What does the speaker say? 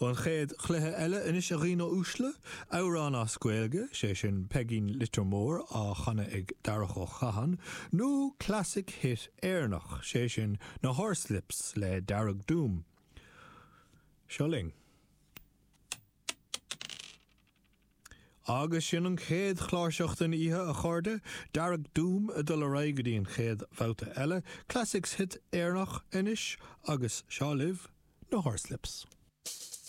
An chéad chluiche eile anois a dhaoine uaisle, amhrán as Gaeilge, sé sin Peigín Leitir Móir á chanadh ag Darach Ó Catháin, nó classic hit Éireannach, sé sin na Horslips le Dearg Doom. Seo linn. Agus sin an chéad chláirseach den oíche, a chairde, Dearg Doom ag dul ar aghaidh go dtí an chéad bhabhta eile, Classics Hit Éireannach anois agus seo libh na Horslips.